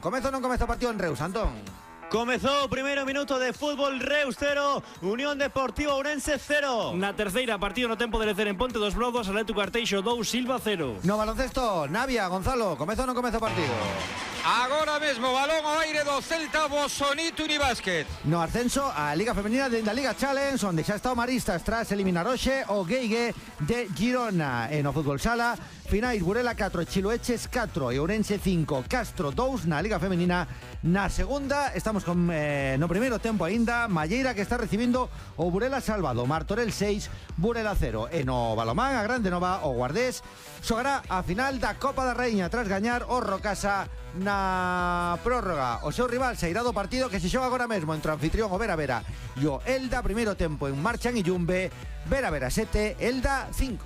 Comeza ou non comeza o partido en Reus, Antón? Comezou o primeiro minuto de fútbol. Reus 0, Unión Deportiva Ourense 0. Na terceira, partido no tempo de lecer en Ponte dos Brodos, Atlético Arteixo 2, Silva 0. No baloncesto, Navia, Gonzalo, comeza ou non comeza o partido? Agora mesmo, balón ao aire do Celta, Bosonito Unibásquet. No ascenso a Liga Femenina da Liga Challenge, onde xa está o Maristas tras eliminar hoxe o Gueigue de Girona. E no fútbol sala, finais Burela 4, Chiloeches 4 e Ourense 5, Castro 2 na Liga Femenina. Na segunda, estamos con no primeiro tempo aínda, Malleira que está recibindo o Burela Salvado, Martorell 6, Burela 0. E no balomán, a Grande Nova, o Guardés xogará a final da Copa da Raíña tras gañar o Rocasa na prórroga. O seu rival sairá do partido que se xoga agora mesmo entre o anfitrión o Vera Vera e o Elda. Primeiro tempo en marcha en Illumbe, Vera Vera 7, Elda 5.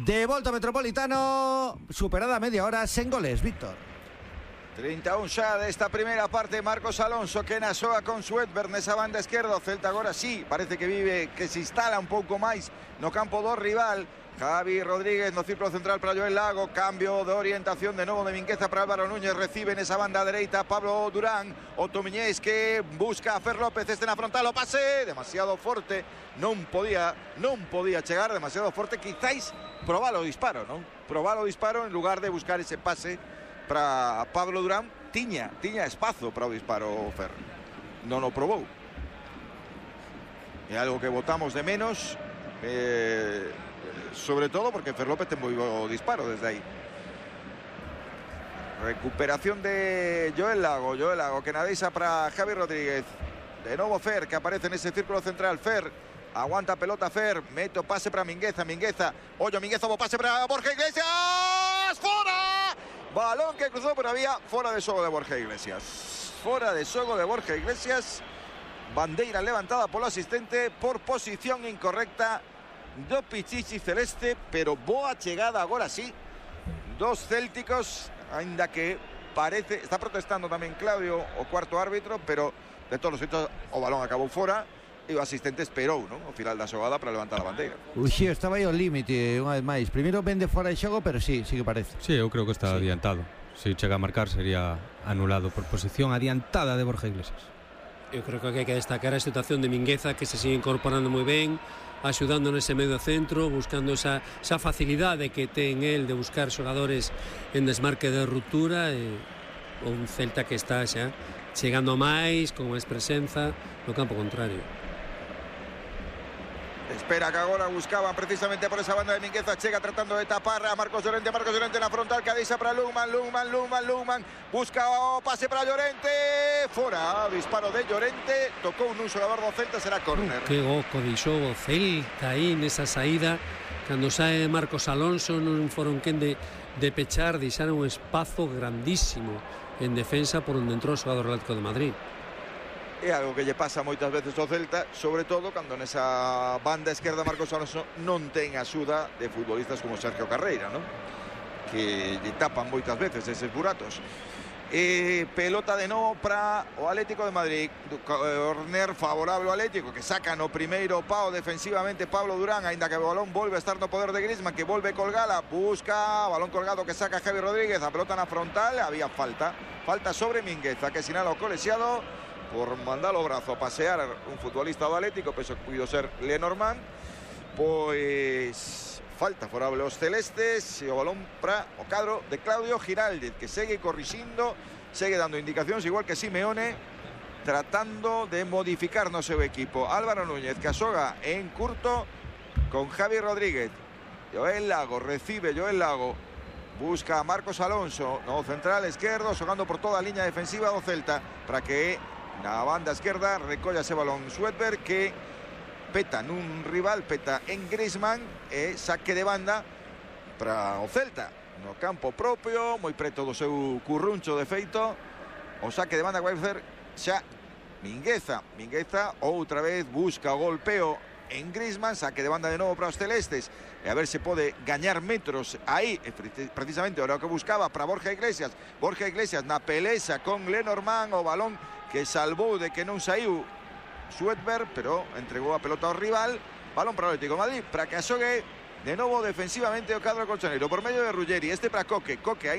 De volta ao Metropolitano, superada a media hora sen goles, Víctor. 31 xa desta primeira parte, Marcos Alonso que nasoa con Sweatberg nesa banda esquerda. O Celta agora sí, parece que vive, que se instala un pouco máis no campo do rival. Javi Rodríguez no círculo central para Joel Lago, cambio de orientación de novo de Mingueza para Álvaro Núñez, recibe nesa banda dereita Pablo Durán, o Tomiñés que busca a Fer López, este na frontal, o pase demasiado forte, non podía chegar, demasiado forte, quizáis probar o disparo, non? Probar o disparo en lugar de buscar ese pase para Pablo Durán. Tiña espazo para o disparo Fer, non o probou. É algo que botamos de menos, sobre todo porque Fer López ten moi bo disparo desde aí. Recuperación de Joel Lago que nadeixa para Javi Rodríguez. De novo Fer que aparece nese círculo central. Fer aguanta pelota, Fer mete o pase para Mingueza, ollo Mingueza, o pase para Borja Iglesias, fora! Balón que cruzou, pero había fora de xogo de Borja Iglesias. Fora de xogo de Borja Iglesias. Bandeira levantada polo asistente por posición incorrecta do Pichichi celeste, pero boa chegada agora sí dos célticos, ainda que parece, está protestando tamén Claudio, o cuarto árbitro, pero de todos os xeitos o balón acabou fora e o asistente esperou, non, o final da xogada para levantar a bandeira. Uxío, estaba aí ao límite unha vez máis. Primeiro vende fora de xogo, pero sí que parece. Sí, eu creo que está adiantado. Se chega a marcar sería anulado por posición adiantada de Borja Iglesias. Eu creo que hai que destacar a situación de Mingueza, que se sigue incorporando moi ben, axudando nese medio centro, buscando esa facilidade que ten el de buscar xogadores en desmarque de ruptura, e un Celta que está xa chegando máis, con máis presenza no campo contrario. Espera que agora buscaban precisamente por esa banda de Mingueza, chega tratando de tapar a Marcos Llorente na frontal, que deixa para Lungman, busca o pase para Llorente, fora, disparo de Llorente, tocou nun xogador do Celta, será córner. Que goco deixou o Celta aí nesa saída, cando sae Marcos Alonso non foron quen de pechar, deixaron un espazo grandísimo en defensa por onde entrou o xogador Atlético de Madrid. É algo que lle pasa moitas veces ao Celta, sobre todo cando nesa banda esquerda Marcos Alonso non ten axuda de futbolistas como Sergio Carreira, non? Que lle tapan moitas veces eses buratos. Pelota de novo para o Atlético de Madrid, corner favorable ao Atlético, que saca no primeiro pao defensivamente Pablo Durán, aínda que o balón volve a estar no poder de Griezmann, que volve colgala, busca balón colgado que saca Javi Rodríguez, a pelota na frontal, había falta sobre Mingueza, que sinala o colexiado por mandar o brazo a pasear un futbolista do Atlético, penso que puido ser Lenormand. Pois falta favorable aos celestes e o balón para o cadro de Claudio Giraldez, que segue corrixindo, segue dando indicacións, igual que Simeone, tratando de modificar no seu equipo. Álvaro Núñez que asoga en curto con Javi Rodríguez. Joel Lago recibe, busca a Marcos Alonso no central esquerdo, xogando por toda a liña defensiva do Celta, para que na banda esquerda recolla ese balón Sweatberg, que peta nun rival, peta en Griezmann, e saque de banda para o Celta no campo propio, moi preto do seu curruncho de feito. O saque de banda que vai facer xa Mingueza outra vez busca o golpeo en Griezmann, saque de banda de novo para os celestes, e a ver se pode gañar metros aí, precisamente era o que buscaba para Borja Iglesias na peleza con Lenormand, o balón que salvou de que non saiu Sweatberg, pero entregou a pelota ao rival. Balón para o Atlético de Madrid, para que asogue de novo defensivamente o cadro colchonero por medio de Ruggeri, para Coque aí